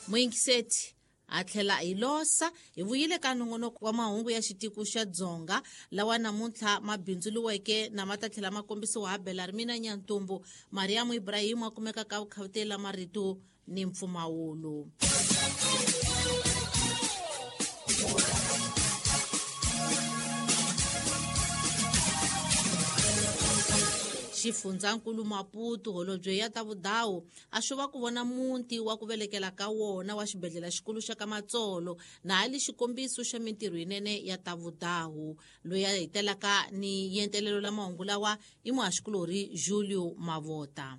Muyingiseti a tlhela hi losa hi vuyile ka nongonoko wa mahungu ya xitiko xa Dzonga lawa namuntlha ma bindzuriweke na ma ta tlhela ma kombisiwa ha Belarmina Nyantumbu. Mariamu Ibrahimu a kumeka ka vukhavutela marito ni mpfumawulo. Xifundzankulu Maputo holobye ya ta vudawu a swi va ku vona muti wa ku velekela ka wona wa xibedhlele xikulu xa ka Matsolo na hali xikombiso xa mintirho yinene ya ta vudawu. Loyi a hetelaka ni yentelelo la mahungu lawa i muhaxikulorhi Julio Mavota.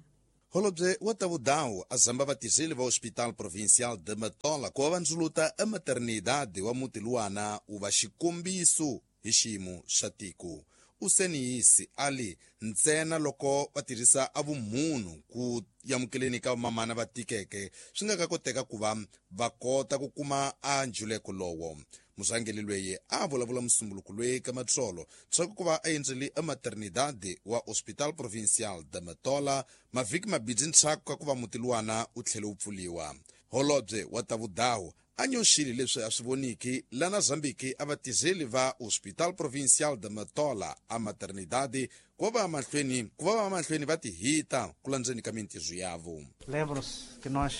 Holobye wa ta vudawu a zamba vatirheli va Hospital Provincial de Matola ku va va ndzuluta e maternidade wa muti luwana wu va xikombiso hi xiyimo xa tiko. Useniyisi ali ntsena loko va tirhisa a vumunhu ku amukeleni ka vamamana va tikeke swi nga ka koteka ku va va kota ku kuma a njuleko lowo. Murhangeri loyi a vulavula musumbuluko loyi ka Matsolo swa ku va a endzele e maternidade wa Hospital Provincial de Matola mavhiki mabidzi ntshaku ka ku va muti luwana wu tlhele wu pfuliwa. Holobye wa ta vudawu a nyoxile leswi a swi voniki lana Zambiki a vatirheli va Hospital Provincial de Matola a maternidade ku va va mahlweni va tihita ku landzeni ka mintirho yavo. Lembram-se que nós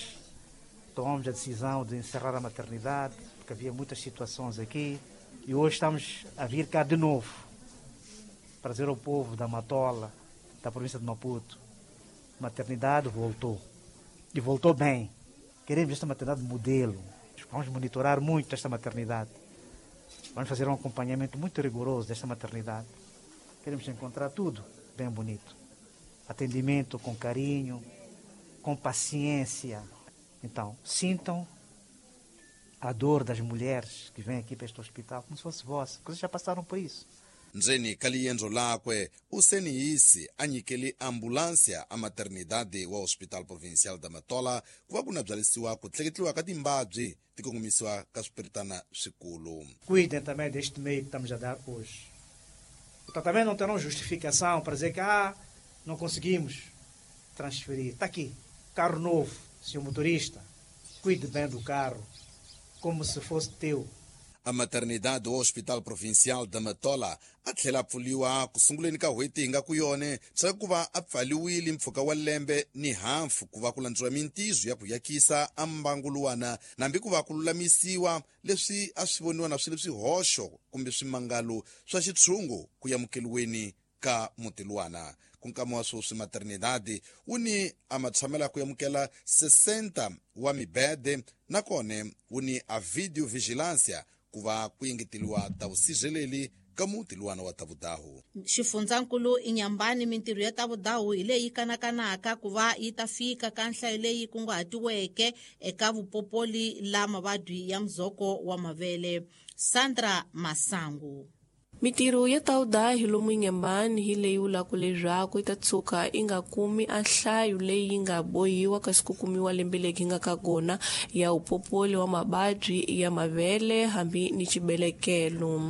tomamos a decisão de encerrar a maternidade, porque havia muitas situações aqui, e hoje estamos a vir cá de novo para dizer ao povo da Matola, da província de Maputo, a maternidade voltou, e voltou bem. Queremos esta maternidade modelo. Vamos monitorar muito esta maternidade. Vamos fazer um acompanhamento muito rigoroso desta maternidade. Queremos encontrar tudo bem bonito. Atendimento com carinho, com paciência. Então, sintam a dor das mulheres que vêm aqui para este hospital como se fosse vossa, porque vocês já passaram por isso. Ndzeni ka liendzo lakwe useniyisi a nyikele ambulance a maternidade wa Hospital Provincial da Matola ku va ku na byalisiwa ku tleketliwa ka timbabyi ti kongomisiwa ka swipiritana swikulu. Cuidem também deste meio que estamos a dar hoje. Então, também não terão justificação para dizer que não conseguimos transferir. Está aqui, carro novo, senhor motorista, cuide bem do carro, como se fosse teu. A maternidade do Hospital Provincial da Matola a tlhela pfuliwa ku sunguleni ka n'hweti hi nga ku yone swa ku va a pfaliwile mpfhuka wa lembe ni hafu ku va ku landziwa mintizo ya ku yakisa a mbangu luwana nambi ku va ku lulamisiwa leswi a swi voniwa na swilo swihoxo kumbe swimangalo swa xitshungu ku amukeliweni ka muti luwana. Ku nkama wa sweswi maternidade wu ni a matshamela ku amukela 60 wa mibede nakone wu ni a video vigilância ku va ku engeteliwa ta vusirheleli ka muti luwana wa Tavudahu. Xifundzankulu Inyambani mintirho ya Tavudahu hi leyi kanakanaka ku va yi ta fika ka nhlayo leyi kunguhatiweke eka vupopoli la mavabyi ya muzoko wa mavele. Sandra Masangu. Mintirho ya Tawudahi lomu Inyambani hi leyi vulaka leswaku yi ta tshuka yi nga kumi a nhlayo leyi yi nga bohiwa kasi ku kumiwa lembe leri nga ka kona ya upopoli wa mavabyi ya mavele hambi ni xibelekelo.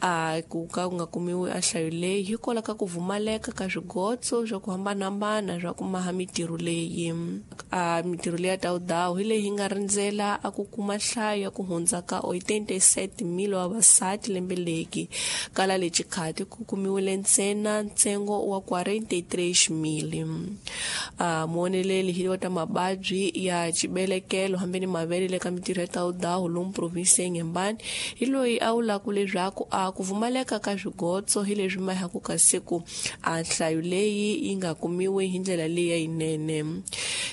A ku ka ku nga kumiwi a nhlayo leyi hikwalaho ka ku pfumaleka ka swigotso swa ku hambanahambana swa ku maha mintirho leyi. A mintirho leyi ya Tawudahi hi leyi yi nga rindzela a ku kuma nhlayo ya ku hundza ka 87,000 wa vavasati lembe leri. Kala lexi khati ku kumiwile ntsena ntsengo wa 43,000. Muoneleli hi wa ta mavabyi ya xibelekelo hambi ni mavele le ka mintirho ya Tawudahi lomu provinsi ya Inhambane hi loyi a vulaka leswaku a ku pfumaleka ka swigotso hi leswi mahaku ka siku a nhlayo leyi yi nga kumiwi hi ndlela leyi yinene.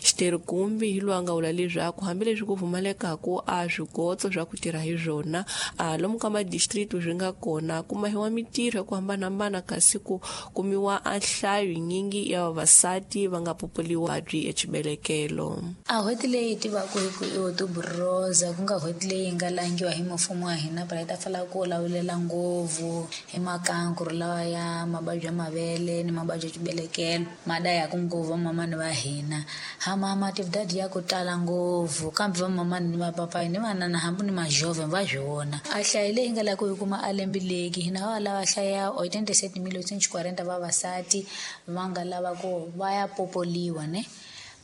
Xiterhikumbi hi loyi a nga vula leswaku hambileswi ku pfumalekaku a swigotso swa ku tirha hi swona a lomu ka madistrict swi nga kona ku mahiwa mintirho ya ku hambanahambana kasi ku kumiwa a nhlayo yinyingi ya vavasati va nga populiwa byi exibelekelo. A n'hweti leyi tivaka hi ku i Otubroza ku nga n'hweti leyi nga langiwa hi mfumo wa hina phela yi ta fala ku lawulela ngopfu hi makankuru lawa ya mavabyi ya mavele ni mavabyi ya xibelekelo ma dayaka ngopfu vamamani va hina. Hama matividadi ya ku tala ngopfu kambe vamamani ni vapapayi ni vanana hambi ni majove va swi vona. A nhlayo leyi nga lava ku yi kuma a lembe leki hina va lava hlaya 87,840 vavasati va nga lava ku va ya popoliwa ne.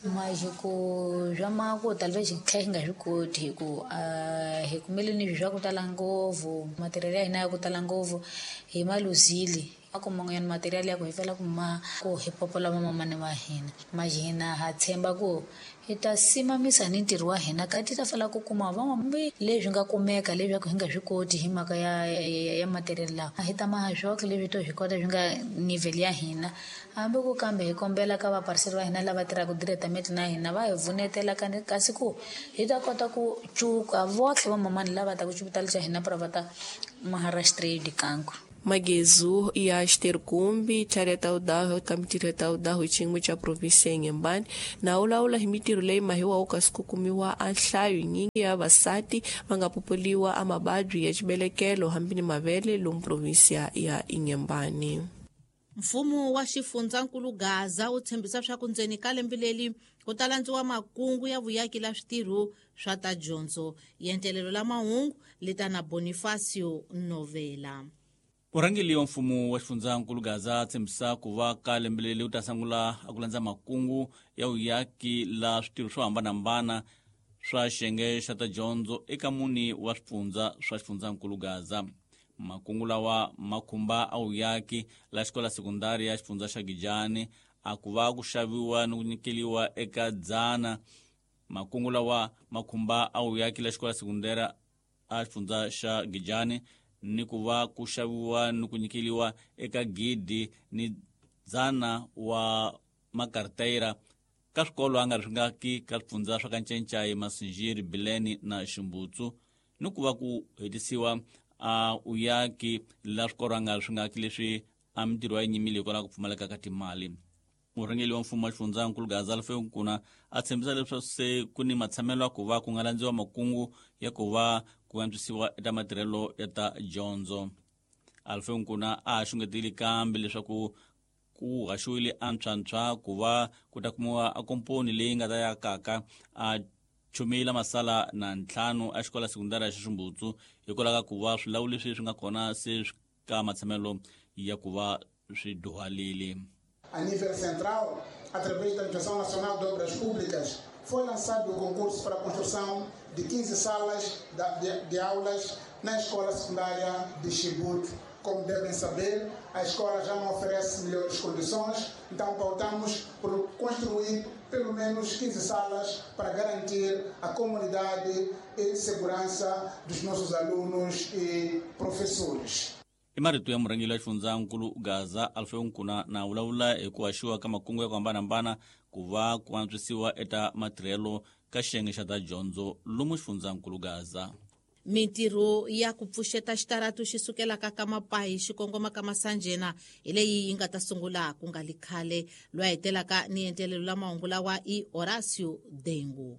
Mas ku swa ku talvez tlhe hi nga swi koti hi ku hi kumele ni swa ku tala ngopfu material ya hina ya ku tala ngopfu hi ma luzile a ku man'wanyana material ya ku hi fela ku ma ku hi popola vamamani va hina mas hina ha tshemba ku hi ta simamisa ni ntirho wa hina ka ti ta fela ku kuma van'wambi leswi nga kumeka leswaku hi nga swi koti hi mhaka ya material lawa hi ta maha swoxe leswi to swi kota swi nga nivel ya hina hambi ku kambe hi kombela ka vapariseri va hina lava tirhaka diretameti na hina va hi vunetela kasi ku hi ta kota ku cuka votlhe vamamani lava ta ku xipitali xa hina para va ta maharashtra dikanku. Magezu ya Xiterkumbi Chareta Udaho ka mitirho ya Udaho xin'we xa provinsi ya Inhambane na ulawula hi mitirho leyi mahiwa kasi ku kumiwa a nhlayo nyingi ya vavasati va nga popoliwa a mavabyi ya xibelekelo hambi ni mavele lomu provinsi ya Inhambane. Mfumo wa xifundzankulu Gaza wu tshembisa swa ku ndzeni ka lembe leri ku ta landziwa makungu ya vuyaki la switirho swa ta dyondzo yentelelo la mahungu leta na Bonifacio Novela. Murhangeri wa mfumo wa xifundzankulu Gaza tshembisa ku va ka lembe leri wu ta sungula a ku landza makungu ya vuyaki la switirho swo hambanahambana swa xiyenge xa ta dyondzo eka mune wa swifundza swa xifundzankulu Gaza. Makungu lawa ma khumba a vuyaki la xikola sekundari ya xifundza xa Gijani a ku va ku xaviwa ni ku nyikeliwa eka dzana. Makungu lawa ma khumba a vuyaki la xikola sekundari a xifundza xa Gijani ni ku va ku xaviwa ni ku nyikeliwa eka gidi ni dzana wa makarteyira ka swikolo a nga ri swi nga ki ka swifundza swa ka Ncencai, Masinjiri, Bileni na Ximbutsu ni ku va ku hetisiwa a uyaki la swikolo a nga ri swi nga ki leswi a mitirho ya nyimile hikwalaho ku pfumaleka ka timali. Murhangeri wa mfumo wa xifundzankulu Gaza Alfeo Nkuna a tshembisa leswaku se ku ni matshamelo ya ku va ku nga landziwa makungu ya ku va ku antswisiwa eka matirhelo ya ta dyondzo. Alfeo Nkuna a ha xungetile kambe leswaku ku haxiwile antshwantshwa ku va ku ta kumiwa a komponi leyi nga ta yakaka a chumile masala na ntlhanu a xikola sekundari ya Ximbutsu hikwalaho ka ku va swilawu leswi swi nga kona se swi ka matshamelo ya ku va swi duhalile. A nível central, através da Administração Nacional de Obras Públicas, foi lançado o concurso para a construção de 15 salas de aulas na escola secundária de Chibute. Como devem saber, a escola já não oferece melhores condições, então pautamos por construir pelo menos 15 salas para garantir a comunidade e segurança dos nossos alunos e professores. I marito ya murhangeri wa xifundzankulu Gaza Alfeo Nkuna na vulavula hi ku haxiwa ka makungu ya ku hambanahambana ku va ku antswisiwa eka matirhelo ka xiyenge xa ta dyondzo lomu xifundzankulu Gaza. Mintirho ya ku pfuxeta xitaratu xi sukelaka ka Mapayi xi kongoma ka Masanjena hi leyi yi nga ta sungula ku nga li khale. Loyi a hetelaka ni entelelo la mahungu lawa i Horacio Dengu.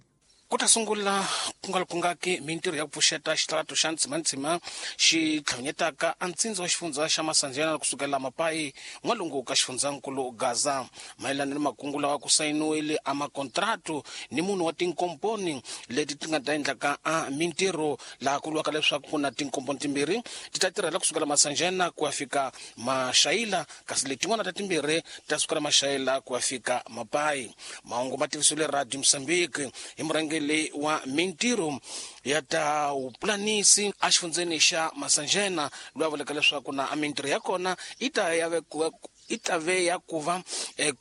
Ku ta sungula ku nga kungaki mintirho ya ku pfuxeta xitaratu xa Ntsimantsima xi tlhonyetaka a ntsindza wa xifundza xa Masanjena kusukela Mapayi n'walungu ka xifundzankulu Gaza. Mayelana ni makungu lawa ku sayiniwile a makontratu ni munhu wa tinkomponi leti ti nga ta endlaka a mintirho laha ku vuriwaka leswaku ku na tinkomponi timbirhi ti ta tirhela kusukela Masanjena ku ya fika Maxayila kasi letin'wana ta timbirhi ti ta sukela Maxayila ku ya fika Mapayi. Mahungu ma tivisiwile Radio Mozambique hi murhangeri wa mintirho ya ta vupulanisi exifundzeni xa Masanjena loyi a vulaka leswaku na mintirho ya kona yi ta ya vekiwa i ta ve ya ku va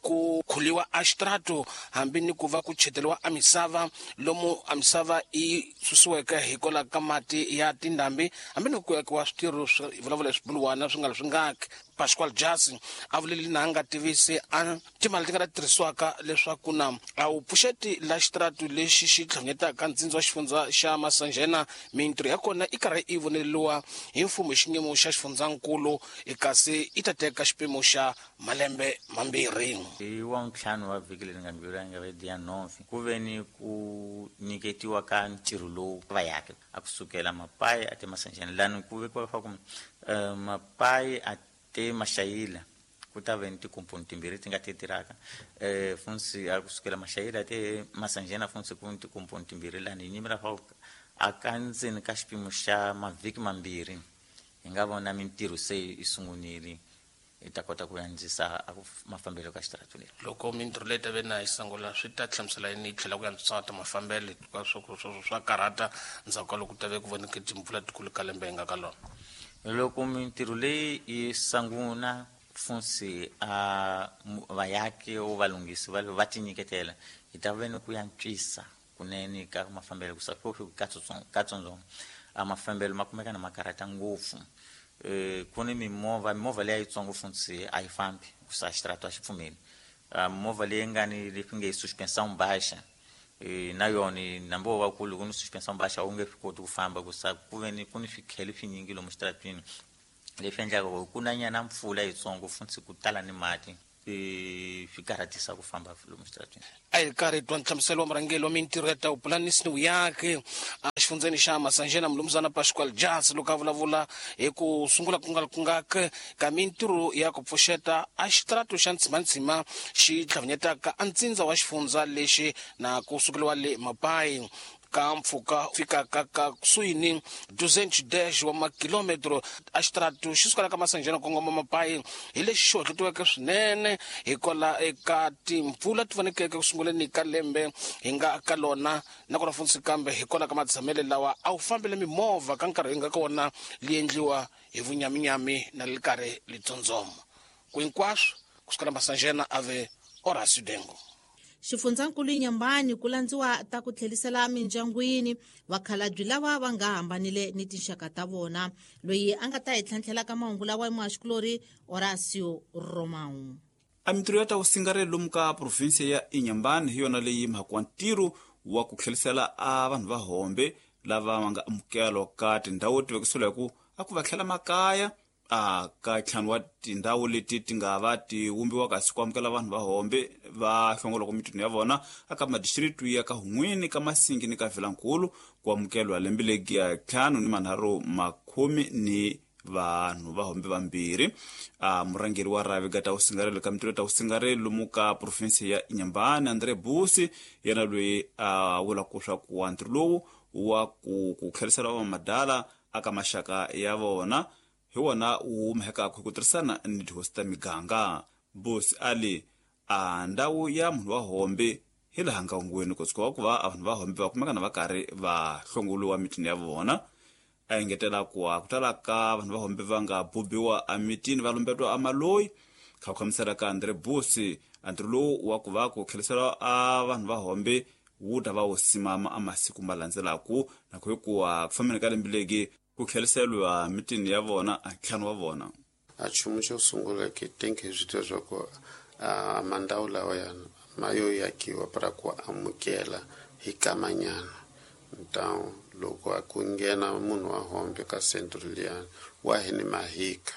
ku khuliwa a xitrato hambi ni ku va ku cheteriwa a misava lomu a misava yi susiweke hikwalaho ka mati ya tindhambi hambi ni ku yakiwa switirho swi vulavula swibuluwana swi nga ri swi ngaki. Pascual Jasi a vuleli na nga tivisi a timali ti nga ta tirhisiwaka leswaku na a wu pfuxeti la xitrato lexi xi tlhonyetaka ntsindza wa xifundza xa Masanjena mintirho ya kona i karhi i voneriwa hi mfumo hi xiyimo xa xifundzankulu kasi i ta teka xipimo xa malembe mambirhi. Hi wa ntlhanu wa vhiki leri nga ndlula nga vhedi ya 9 ku ve ni ku nyiketiwa ka ntirho lowu va yaka a kusukela Mapayi a te Masanjena lani ku vekiwa leswaku Mapayi a te Maxayila ku ta ve ni tikomponi timbirhi ti nga ti tirhaka funsi a kusukela Maxayila te Masanjena funsi ku ni tikomponi timbirhi lani hi nyimela fa a ka ndzeni ka xipimo xa mavhiki mambirhi hi nga vona mintirho se yi sungunile. Hi ta kota ku andzisa mafambelo ka xitaratu leri. Loko mintirho leyi ta ve na yi sungula swi ta hlamusela yini yi tlhela ku antswisa ta mafambelo ka swa karhata ndzhaku ka loko ta ve ku voneke timpfula tikulu ka lembe hi nga ka lona? Loko mintirho leyi yi sungula funtsi a vayaki o valunghisi va tinyiketela, hi ta ve ni ku antswisa kunene ka mafambelo ku katsongo. A mafambelo ma kumeka na makarhata ngopfu. Ku ni mimovha leyi yitsongo funtsi a yi fambi ku sa xitaratu a xi pfumeli. Movha leyi nga ni leswi nge suspension baixa, na yona nambi wo va kulu ku ni suspension baixa wu nge swi koti ku famba ku sa ku ve ni ku ni swikhele swinyingi lomu xitaratwini leswi endlaka ku ku na nyana mpfula yitsongo funtsi ku tala ni mati, swi karhatisa ku famba lomu xitaratwini. A hi karhi twa nhlamuselo wa murhangeri wa mintirho ya ta vupulanisi ni vuyaki a xifundzeni xa Masanjena, Mulumuzana Pascual Jas, loko a vulavula hi ku sungula ku nga kungaka ka mintirho ya ku pfuxeta a xitaratu xa Ntsimantsima xi tlhavinyetaka a ntsindza wa xifundza lexi na ku sukeliwa le Mapai ka mpfhuka fikaka ka kusuhi ni 210 wa makilometro. A xitaratu xi sukela ka Masanjena kongoma Mapai hi lexi xi hohletiweke swinene hikwala eka timpfula ti vonekeke ku sunguleni ka lembe hi nga ka lona, nakona funtsi kambe hikwala ka matshamele lawa a wu fambele mimovha ka nkarhi hi nga ka wona li endliwa hi vunyaminyami na li karhi litsondzoma ku hinkwaswo kusukela Masanjena ave Horacio Dengo. Xifundzankulu Inhambane ku landziwa ta ku tlhelisela mindyangwini vakhalabyi lava va nga hambanile ni tinxaka ta vona. Loyi a nga ta hi tlhantlhela ka mahungu lawa i muhaxikulori Horacio Romão. A mintirho ya ta vusingarelo lomu ka provinsia ya Inhambane hi yona leyi mhaka wa ntirho wa ku tlhelisela a vanhu va hombe lava va nga amukelwa ka tindhawu ti vekisiwela hi ku a ku va tlhela makaya a ka ntlhanu wa tindhawu leti ti nga va ti wumbiwa kasi ku amukela vanhu va hombe va hlongolaka mitini ya vona aka madistritu ya ka Hun'wini, ka Masingi ni ka Vilankulu ku amukelwa lembe legi ya 5 ni ni vanhu va hombe vambirhi. A murhangeri wa rhavi ga ta vusingarelo ka mintirho ta vusingarelo lomu ka provinsi ya Inhambane, André Busi, yena loyi a vulaka swa ku wa ntirho lowu wa ku tlherisela vamadala aka maxaka ya vona hi wona wu humekaka hi ku tirhisana ni tihosi ta miganga. Busi ali a ndhawu ya munhu wa hombe hi laha ngangweni kusuka ku va vanhu va hombe va kumeka na va karhi va hlongoliwa mitini ya vona. A engetela ku a ku tala ka vanhu va hombe va nga bubiwa emitini va lumbetiwa amaloyi. Kha ku hlamusela ka Andre Busi, a ntirho lowu wa ku va ku tlherisela a vanhu va hombe wu ta va wu simama a masiku ma landzelaku na ku hikuva ku fambeni ka lembe legi ku tlheriseriwa mitini ya vona a ntlhanu wa vona. A nchumu xo sungula ke think hi swi tiva swa ku a mandhawu lawayana ma yo yakiwa para ku amukela hi kamanyana. Então loko a ku nghena munhu wa hombe ka centro liyani wa hi ni mahika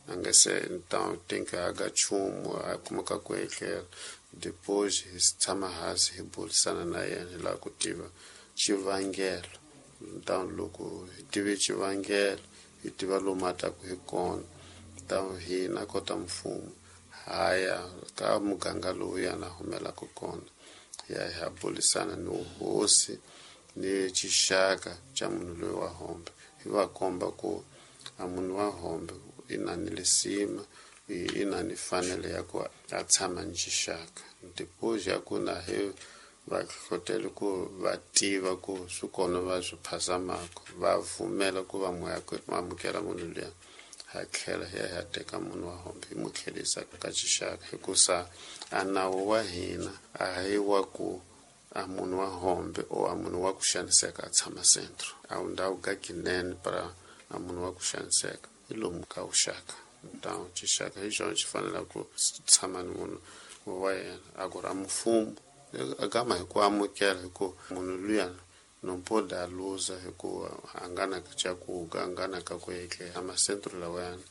a nga se, então tem que aga nchumu a kumeka ku etlela. Depois hi tshama hansi hi burisana na yena, hi lava ku tiva xivangelo. Então loko hi tive xivangelo, hi tiva lomu a taku hi kona, então hina kota mfumo haya ka muganga lowu yana humelaka kona, hi ya hi ya burisana ni hosi ni xixaka xa munhu loyi wa hombe, hi va komba ku a munhu wa hombe i na ni lisima, i na ni fanelo ya ku a tshama ni xixaka. Depois ya ku na hi va hlohlotela ku va tiva ku swi kona va swi phazamaka, va pfumela ku va amukela munhu luya, ha tlhela hi ya hi ya teka munhu wa hombe hi mu tlherisa ka xixaka, hikusa a nawu wa hina a hi wa ku a munhu wa hombe o a munhu wa ku xaniseka a tshama centro. A ndhawu ka kinene para a munhu wa ku xaniseka hi lomu ka vuxaka. Então xixaka hi xona xi fanele ku tshama ni munhu wa yena. A ku ri a mfumo agama hi ku amukela, hi ku munhu luya não pode a luza, hikuva a nga na cakuga, a nga na ka ku etlela. Macentro lawayana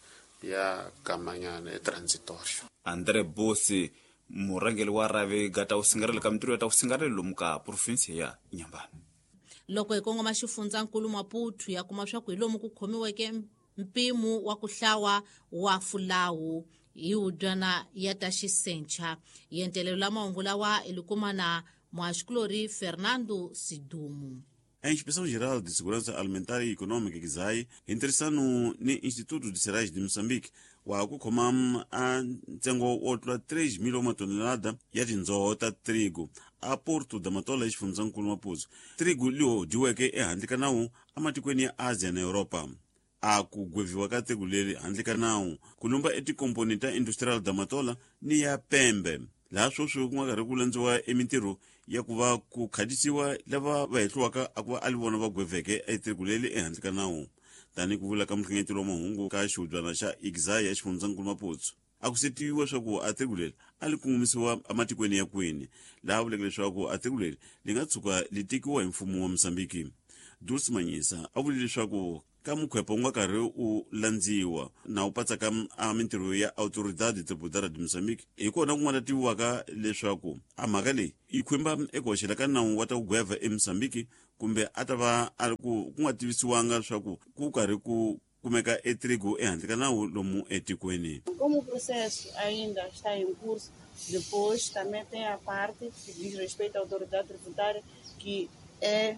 ya kamanyana e transitorio. Andre Bosi, murhangeri wa rhavi ga ta vusingarelo ka mintirho ya ta vusingarelo lomu ka provinsi ya Inhambane. Loko hi kongoma xifundzankulu Maputo, ya kuma swa ku hi lomu ku khomiweke mpimo wa ku hlawa wa fulawu hi hudyana ya ta xisencha. Yentelelo la mahungu lawa i likuma na muhaxikulori Fernando Sidumu. A Inspeção Geral de Segurança Alimentar e Econômica XAI hi ntirhisano ni Instituto de Cereais de Moçambique wa ku khoma a ntsengo wo tlula 3 mil wa matonelada ya tindzoho ta trigo a Porto da Matola exifundzhankulu Maputo. Trigo liwo dyiweke ehandle ka nawu ematikweni ya Asia na Europa. A ku gweviwa ka trigo leri handle ka nawu ku lumba etikomponi ta Industrial da Matola ni ya Pembe, laha sweswi ku nga karhi ku landziwa emintirho ya ku va ku khadisiwa lava va hehliwaka a ku va a li vona va gweveke etrigo leri ehandle ka nawu. Tanihi ku vula ka muhlengeteli wa mahungu ka xihubyana xa XAI ya xifundzankulu Maputo, a ku se tiviwa swa ku a trigo leri a li kongomisiwa ematikweni ya kwini, laha vuleke leswaku a trigo leri li nga tshuka li tekiwa hi mfumo wa Mozambiki. Dulce Manyisa a vule leswaku ka mukhwepa wu nga karhi u landziwa na wu patsaka a mintirho ya Autoridade Tributária de Moçambique, hi kona ku nga ta tiviwaka leswaku a mhaka leyi yi khumba eku hoxela ka nawu wa ta ku gweva eMozambique, kumbe a ta va a ri ku ku nga tivisiwanga leswaku ku karhi ku kumeka etrigo ehandle ka nawu lomu etikweni. Como o processo ainda está em curso, depois também tem a parte que diz respeito à autoridade tributária, que é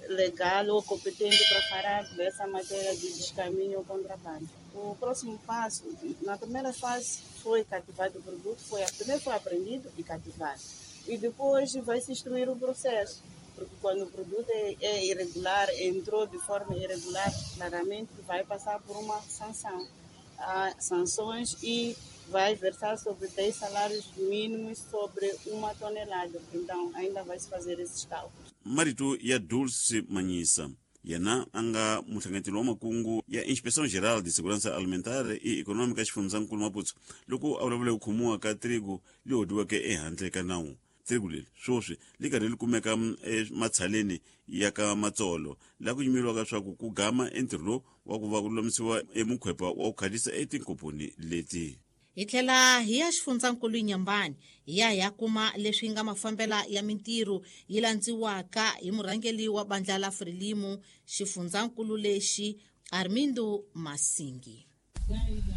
legal ou competente para falar dessa matéria de descaminho ou contrabando. O próximo passo, na primeira fase foi cativado o produto, primeiro foi apreendido e cativado. E depois vai se instruir o processo, porque quando o produto é irregular, entrou de forma irregular, claramente vai passar por uma sanção. Há sanções e vai versar sobre 10 salários mínimos sobre uma tonelada. Então, ainda vai se fazer esses cálculos. Marito ya Dulce Manyisa, yena a nga muhlangeteli wa makungu ya Inspeção Geral de Segurança Alimentar e Econômica xifundzankulu Maputo, loko a vulavula ku khomiwa ka trigo leyi hodiweke ehandle ka nawu. Trigo leri sweswi li karhi li kumeka ematshaleni ya ka Matsolo, laha ku yimeriwaka swa ku ku gama entirho lowu wa ku va ku lulamisiwa emukhwepa wa ku khalisa etinkomponi leti. Hi tlhela hi ya xifundzankulu Inhambane, hi ya hi ya kuma leswi nga mafambela ya mintirho yi landziwaka hi murhangeri wa bandla la Frelimo xifundzankulu lexi, Armindo Masingi.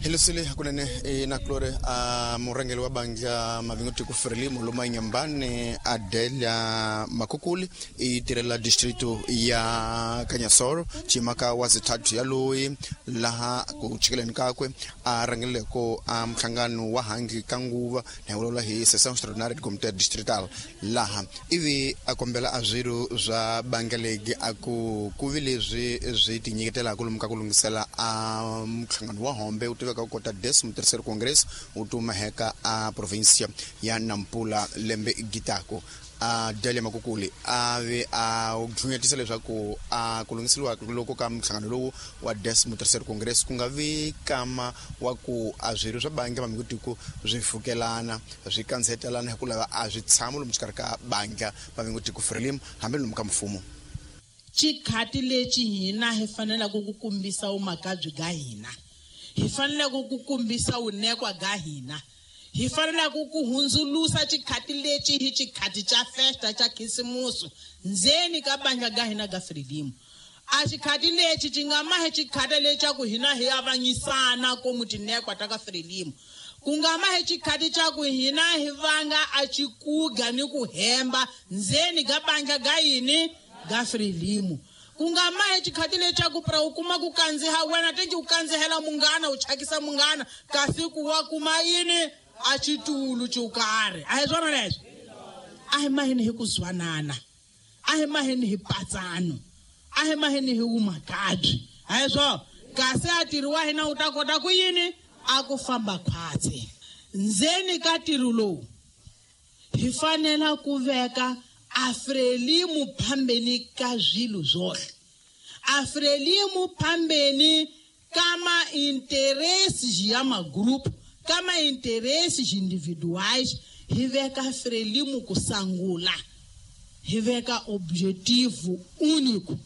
Hilusile hakunene na Klore a murhangeri wa bandla Mavingo Frelimo loma Inhambane Adelia Makukuli i tirhela distrito ya Kanyasoro chimaka wa zithathu ya loyi laha ku chikeleni kakwe a rhangeleko a mhlangano wa hangi ka nguva na vulavula hi session extraordinaire de comité distrital, laha ivi a kombela a swirho swa bandla legi a ku ku vi leswi swi tinyiketelaka lomu ka ku lunghisela a mhlangano wa hombe u tiveka ku kota 13º Congress u tumaheka a provincia ya Nampula lembe gitako. A Delia Makukuli a ve a dlunyetisa leswaku a ku lunghiseriwa loko ka mhlangano lowu wa 13º Congress ku nga vi kama wa ku a swirho swa bandla Mavingo swi fukelana swi kandzihetelana hi ku lava a swi tshama lomu xikarhi ka bandla Mavingo Frelimo hambi lomu ka mfumo. Xikhati lexi hina hi faneleke ku kombisa vumakabyi bya hina, hi faneleke ku kombisa vunekwa bya hina, hi faneleke ku hundzulusa xikhati lexi hi xikhati xa festa xa khisimusi ndzeni ka bandla ga hina ga Frelimo. A xikhati lexi xi nga mahi xikhati lexa ku hina hi avanyisana komu tinekwa ta ka Frelimo, ku nga mahi xikhati xa ku hina hi vanga a xikuga ni ku hemba ndzeni ka bandla ga yini ga Frelimo, ku nga mahi xikhati lexa ku pra u kuma ku kandziha wena tengi u kandzihela munghana u chakisa munghana kasi ku wa kuma yini a xitulu xo karhi. A hi swona leswi? A hi maheni hi ku zwanana, a hi maheni hi patsano, a hi maheni hi vumakabyi, a hi swona? Kasi a tirhi wa hina u ta kota ku yini a ku famba khwatsi. Ndzeni ka ntirho lowu hi fanela ku veka a Frelimo phambeni ka swilo zwohle, a Frelimo phambeni ka ma-interesses ya magrupu, ka ma-interesses individuais. Hi veka Frelimo ku sangula, hi veka objetivo único: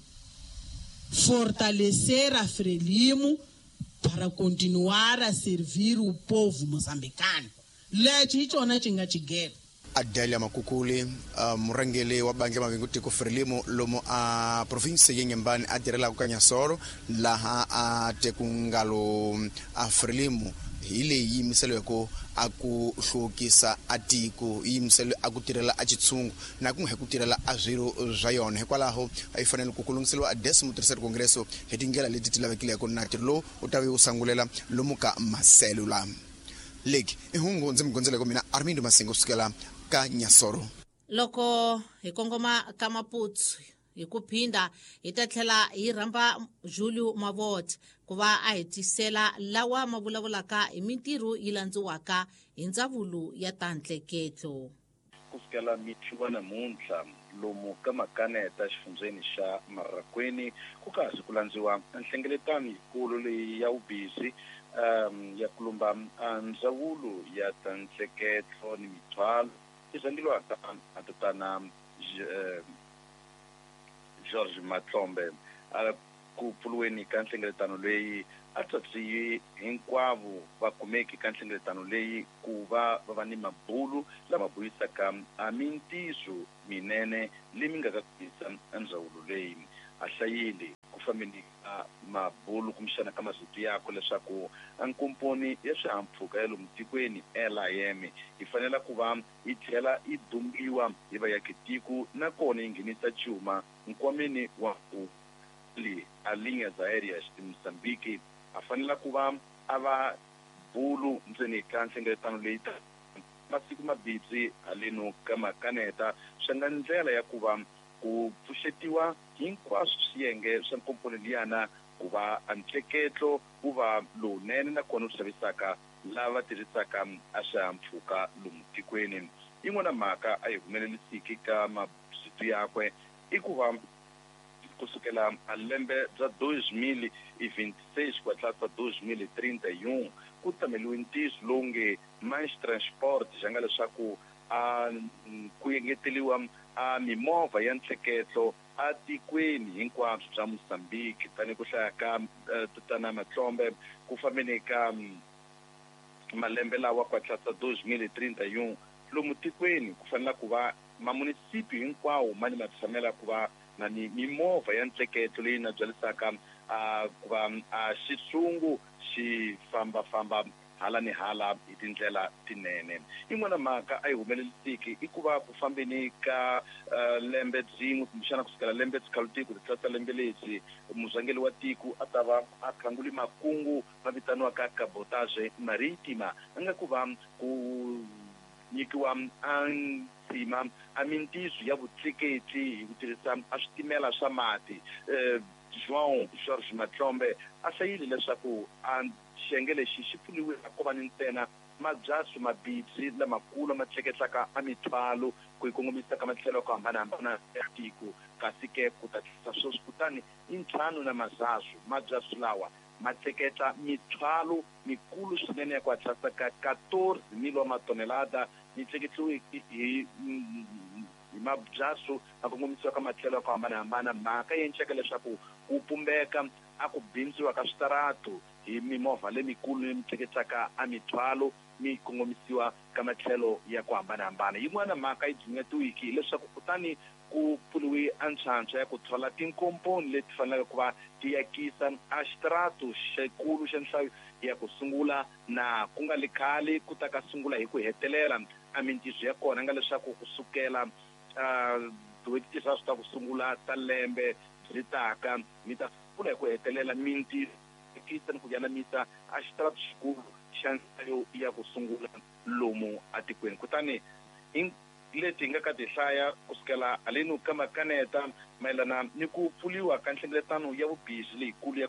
fortalecer a Frelimo para continuar a servir o povo moçambicano. Lexi hi xona xi nga xigelo. Adelia Makukuli, murhangeri wa bandla Mavingo Frelimo lomu a province ya Inhambane a tirhelaka ka Nyasoro, laha a tekungalo a Frelimo Hi leyi yimiseliweke a ku hluvukisa a tiko, yi yimiseliwe a ku tirhela a xitshungu na ku nga hi ku tirhela a swirho swa yona. Hikwalaho a yi fanele ku lunghiseriwa a 13º Congresso hi tindlela leti ti lavekileke, na ntirho lowu u ta ve wu sangulela lomu ka maselula. Leki i hungu ndzi mi gondzeleke mina Armindo Masingo kusukela ka Nyasoro. Loko hi kongoma ka Maputo hi ku phinda, hi ta tlhela hi rhamba Julio Mavot ku va a hi tisela lawa ma vulavulaka hi mintirho yi landziwaka hi ndzawulo ya ta ntleketlo. Ku fikela mixo wa namuntlha lomu ka Makaneta xifundzheni xa Marraquene ku kahle ku landziwa nhlengeletano yikulu leyi ya vubisi ya kulumba ndzawulo ya ta ntleketlo ni mithwalo yi rhangeriwaka a tatana George Matlombe. Ku pfuriweni ka nhlengeletano leyi a tswatsiwi hinkwavo va kumeki ka nhlengeletano leyi ku va va va ni mabulu lama buyisaka a mintiso minene leyi mi nga ka kuyisa ndzawulo leyi. A hlayile ku fambeni ka mabulu kumbexana ka masiku yakwe leswaku nkomponi ya swihahampfhuka ya lomu tikweni LIM yi fanela ku va yi tlhela yi dumbiwa hi vaakatiko, nakona yi nghenisa cuma nkwameni wa ku a Linhas Aéreas de Moçambique a fanela ku va a va bulu ndzeni ka nhlengeletano leyi ta masiku mabibyi haleno ka Makaneta, swi nga ndlela ya ku va ku pfuxetiwa hinkwaswo swiyenge swa nkomponi liyana ku va a ntleketlo wu va lowunene nakona wu xavisaka lava tirhisaka a swihahampfhuka lomu tikweni. Yin'wana mhaka a yi humelelisiki ka masiku yakwe i ku va kusukela a lembe bya 2026 ku tlhela 2031 ku tameliwe ntiyiso lowu nge Mais Transport, xa nga leswaku a ku engeteliwa a mimovha ya ntleketlo a tikweni hinkwabyo bya Mozambique. Tanihi ku hlaya ka tatana Matlombe, ku fambeni ka malembe lawa ku tlhela 2031 lomu tikweni ku fanela ku va mamunisipi hinkwawo ma ni ma tshamela ku va na ni mimovha ya ntleketlo leyi na byalisaka ku va a xitshungu xi fambafamba hala ni hala hi tindlela tinene. Yin'wana mhaka a yi humelelisiki i ku va ku fambeni ka lembe byin'we kumbexana kusukela lembe tsikhalutiko ti tlasa lembe lebyi murhangeri wa tiko a ta va a khanguli makungu ma vitaniwaka cabotage marítima, a nga ku va ku nyikiwa a ntsima a mintiso ya vutleketli hi ku tirhisa a switimela swa mati. João Jorge Matlombe a hlayile leswaku a xiyenge lexi xi pfuniwile ko va ni ntsena mabyaso mabibyi lamakulu ma tleketlaka a mithwalo ku yi kongomisa ka matlhelo ya ku hambanahambana ya tiko, kasi ke ku ta tlisa sweswi kutani i ntlhanu na mazazu mabyaso lawa ma tleketla mithwalo mikulu swinene ya ku hatlisa ka 14,000 wa matonelada yi tleketliwe hi mabyaso ma kongomisiwa ka matlhelo ya ku hambanahambana. Mhaka yi enceka leswaku ku pumbeka a ku bindziwa ka switaratu hi mimovha lemikulu leyi tleketlaka a mithwalo mi kongomisiwa ka matlhelo ya ku hambanahambana. Yin'wana mhaka yi dzunyetiwiki hileswaku kutani ku pfuriwe a ntlhantlha ya ku thola tinkomponi leti faneleke ku va ti yakisa a xitaratu xikulu xa nhlayo ya ku sungula, na ku nga li khale ku ta ka sungula hi ku hetelela a mintiso ya kona nga leswaku kusukela tin'hweti tinharhu ta ku sungula ta lembe byi taka mi ta sungula hi ku hetelela mintiso ni ku yanamisa a xitaratu xikulu xa nhlayo ya ku sungula lomu atikweni. Kutani leti hi nga ka ti hlaya kusukela haleni ka Makaneta mayelana ni ku pfuriwa ka nhlengeletano ya vubisi leyikulu ya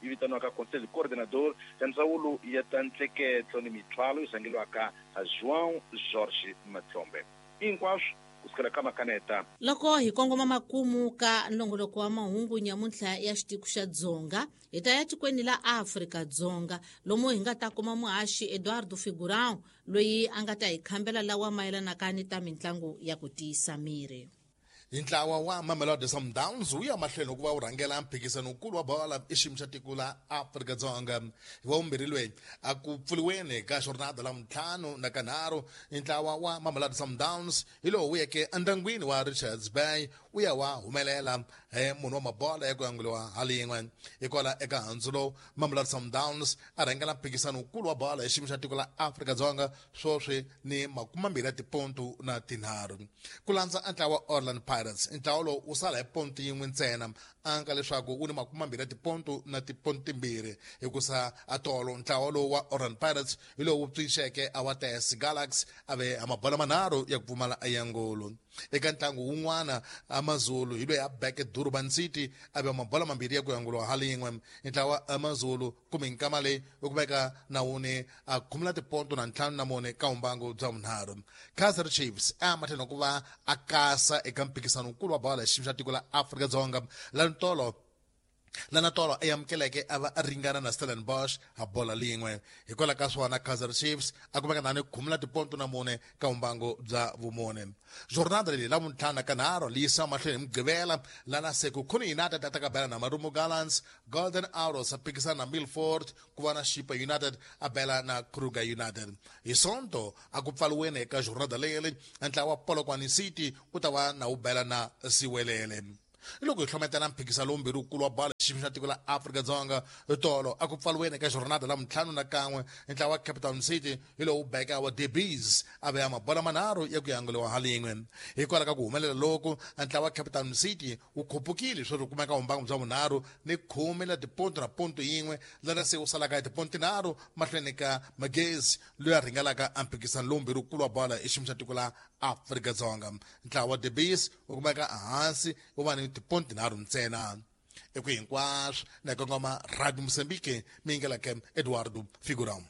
yi vitaniwaka Conselho Coordenador ya ndzawulo ya ta ntleketlo ni mithwalo yi rhangeriwaka João Jorge Matlombe. Hinkwaswo kusukela ka Makaneta. Loko hi kongoma makumu ka nongoloko wa mahungu nyamuntlha ya xitiko xa Dzonga, hi ta ya tikweni la Afrika Dzonga lomu hi nga ta kuma muhaxi Eduardo Figurão loyi a nga ta hi khambela lawa mayelanaka ni ta mitlangu ya ku tiyisa miri. Hi ntlawa wa Mamelodi Sundowns wu ya mahlweni ku va wu rhangela mphikizano-nkulu wa bolo i xiyimo xa tiko la Afrika-Dzonga. Hi wa vumbirhi loyi a ku pfuriweni ka jornada la ntlhanu na kanharhu, ntlawa wa Mamelodi Sundowns hi lowu wu yeke endyangwini wa Richards Bay wu ya wa humelela hi munhu wa mabola ya ku yanguliwa halin'we. Hikwala eka handzu lowu Mamelodi Sundowns a rhangela mphikisano wukulu wa bola hi xiyimo xa tiko la Afrika-Dzonga swoswi ni 23. Ku landza ntlawa wa Orlando Pirates, ntlawa lowu wu sala hi ponto yin'we ntsena, anka leswaku wu ni 22.2, hikusa atolo ntlawa lowu wa Orlando Pirates hi lowu wu pfinxeke a wa TS Galaxy a ve a mabola manharhu ya ku pfumala ayangolo. Eka ntlangu wun'wana AmaZulu hi loyi a beke Durban City a ve mabola mambirhi ya ku yanguliwa halin'we. Ntlawa AmaZulu kumbe nkama leyi u kumeka na wuni a khumula tiponto na 54 ka umbangu bya vunharhu. Kaizer Chiefs a matlhelo ku va a kasa eka mphikisano wukulu wa bola hi xiyimo xa tiko la Afrika-Dzonga lana tolo a amukeleke a va a ringana na Stellenbosch ha bola lin'we. Hikwalaho ka swona Kaizer Chiefs a kumeka nani khumula tiponto na 4 ka umbango bya vumune. Jornada leyi la vuntlhanu ka nharhu leyi yisiwa mahlweni hi Mugqivela lana Sekhukhune United a ta bela na Marumo Gallants, Golden Arrows a phikisana na Milford, ku va na Chippa United a bela na Kruger United. Hi Sonto a ku pfaliweni eka jornada leyi ntlawa wa Polokwane City wu ta va na wu bela na Siwelele. Loko hi hlometela mphikisano lowumbirhi wukulu wa bola xiyimo xa tiko la Afrika-Dzonga tolo a ku pfaliweni eka jornada la 51 ntlawa wa Cape Town City hi lowu beka wa Debees a veya mabola manharhu ya ku yanguliwa halin'we. Hikwalaho ka ku humelela loku ntlawa wa Cape Town City wu khupukile sweswi wu kumeka umbango bya vunharhu ni 10.1, lana se wu salaka hi tiponto 3 mahlweni ka Magezi loyi a rhangelaka a mphikisano lowumbirhi wukulu wa bola hi xiyimo xa tiko la Afrika-Dzonga. Ntlawa wa Debees wu kumeka ehansi wu va ni tiponto 3 ntsena. Eku hinkwaswo na kongoma Radio Mozambique miyingeleke Eduardo Figurão.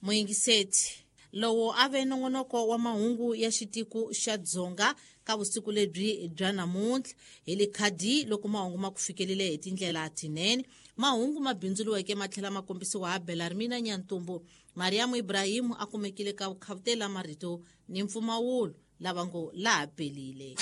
Muyingiseti lowo a ve nongonoko wa mahungu ya xitiko xa Dzonga ka vusiku lebyi bya namuntlha hi le khadi loko mahungu ma ku fikelele hi tindlela tinene. Mahungu ma bindzuriweke ma tlhela ma kombisiwa ha Belarmina Nyantumbu. Mariam Ibrahim a kumekile ka vukhavutela marito ni mpfumawulo lava ngo laha pelile.